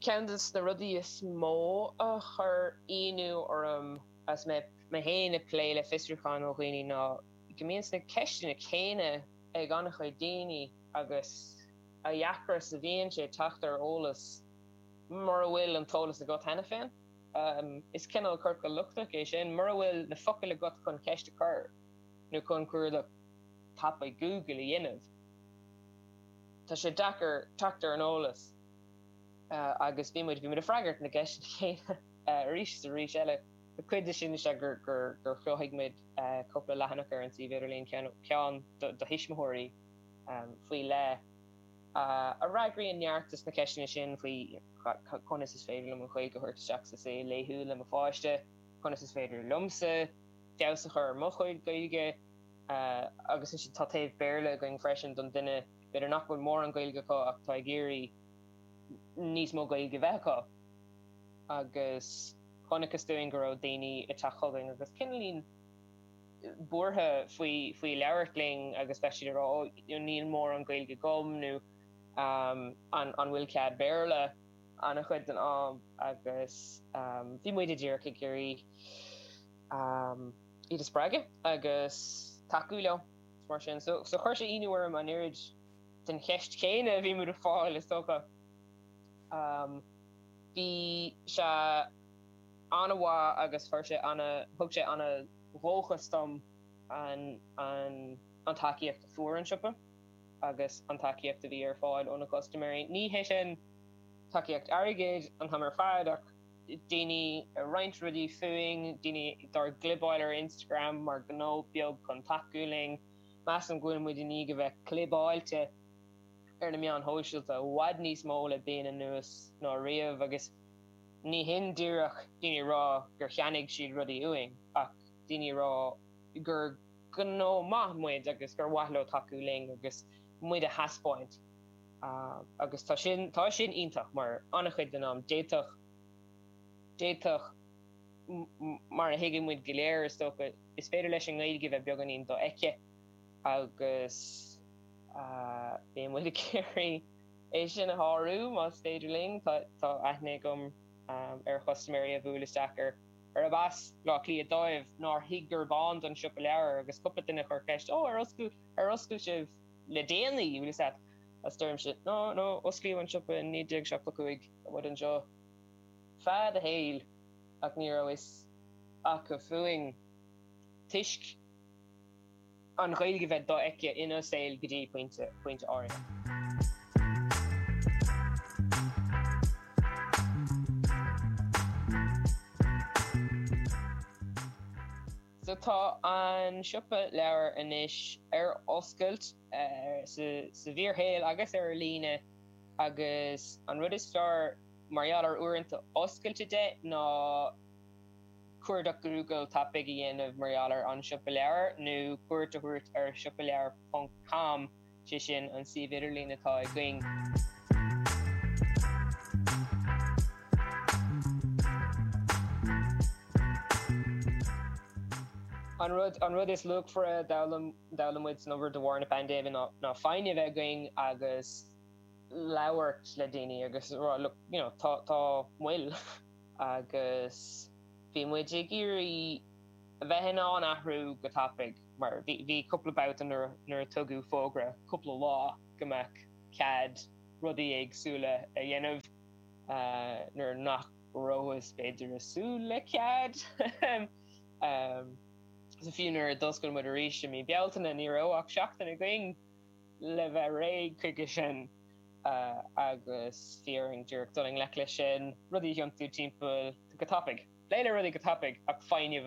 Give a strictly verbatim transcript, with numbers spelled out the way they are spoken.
Ceann de na rudaí is mó a chuir ionadh orm as mé mé féin ag plé le fiosrúcháin ó dhaoine ná go mbíonn na ceisteanna céanna ag an-chuid daoine agus a dheacra a bhíonn sé teacht ar eolas mura bhfuil an t-eolas agat cheana féin. Um, is cineál ciorcal lochtach é sin mura bhfuil na focail agat chun ceist a chur nó chun cuardach tapa Google a dhéanamh. Tá sé deacair teacht ar an eolas uh, agus bhí muid bhí muid ag freagairt na gceisteanna céanna uh, arís is arís eile. Cuid de sin sé gur gur gur chruthaigh muid uh, cúpla leathanach ar an suíomh idirlín ceann do thuismitheoirí um, faoi leith uh, a fhreagraíonn neart de na ceisteanna sin faoi conas is féidir liom an Ghaeilge a thabhairt isteach sa saol laethúil le mo pháiste, conas is féidir liomsa feabhas a chur ar mo chuid Gaeilge uh, agus sin tá taobh Béarla againn freisin don duine b'fhéidir nach bhfuil mórán Gaeilge acu ach tá ag iarraidh níos mó Gaeilge bheith acu agus chonacthas dúinn go raibh daoine ag teacht chugainn agus cineáilín buartha faoi faoi labhairt linn agus bheith siad ag rá níl mórán Gaeilge agam nó um, an an bhfuil cead Béarla an-chuid den am agus um, bhí muid díreach ag iarraidh um, iad a spreagadh agus tacú leo mar sin so so chuir sé ionadh orm an oiread den cheist chéanna bhí muid ag fáil is dócha. Um, bhí sé an-mhaith agus chuir sé an thug sé an-dhóchas dom an an an tacaíocht a fuair an siopa agus an tacaíocht a bhí ar fáil ó na custaiméirí. Ní hé sin tacaíocht airgid an t-am ar fad ach daoine roinnt rudaí fúinn, daoine dár gclibeáil ar Instagram mar gnó beag chun tacú linn, Measaim go bhfuil muid i ndiaidh a bheith clibeáilte ar na meáin shóisialta i bhfad níos mó le bliain anuas ná riamh agus ní hin díreach daoine ag rá gur cheannaigh siad rudaí uainn ach daoine ag rá gur gnó maith muid agus gur mhaith leo tacú linn agus muid a thaispeáint. Agus tá sin tá sin iontach mar an-chuid den am d'fhéadfadh d'fhéadfadh mar a thuigeann muid go léir is dócha is féidir leis an nGaeilge bheith beagáinín dofheicthe agus bíonn muid ag iarraidh é sin a shárú más féidir linn. Tá aithne agam ar chustaiméirí a bhuail isteach ar arb as Baile Átha Cliath dóibh nár thuig gurb ann don siopa leabhar agus cúpla duine a chuir ceist, 'Ó, ar oscail ar oscail sibh le déanaí?' Bhfuil fhios agat? Agus deirimse, 'No, no, osclaíodh an siopa in naoi déag seachtó cúig, tá muid anseo feadh an tsaoil' ach ní raibh fhios acu fúinn toisc an Ghaeilge bheith dofheicthe ina saol go dtí pointe pointe áirithe. So tá an siopa leabhar anois ar oscailt sa sa bhfíorshaol agus ar líne agus an rud is fearr mar gheall ar uaireanta oscailte de ná cuardach Google tapaidh a dhéanamh mar gheall ar An Siopa Leabhar nó cuairt a thabhairt ar siopaleabhar ponc com, sé sin an suíomh idirlín atá againn. An rud an rud is luachmhaire a d'fhoghlaim d'fhoghlaim muid san obair de bharr na paindéime ná ná foighne a bheith againn agus labhairt le daoine agus rá look you know tá tá moill agus bhí muid ag iarraidh a bheith in ann athrú go tapaidh mar bhí bhí cúpla babhta nuair nuair a tugadh fógra cúpla lá go mbeadh cead rudaí éagsúla a dhéanamh nuair nach rabhthas b'fhéidir ag súil le cead. So fiú nuair a d'oscail muid arís i mí Bealtaine ní raibh ach seachtain againn le bheith réidh chuige sin agus bhí orainn díreach dul i ngleic leis sin, rudaí a thiontú timpeall go tapaidh. Plé le rudaí go tapaidh ach foighne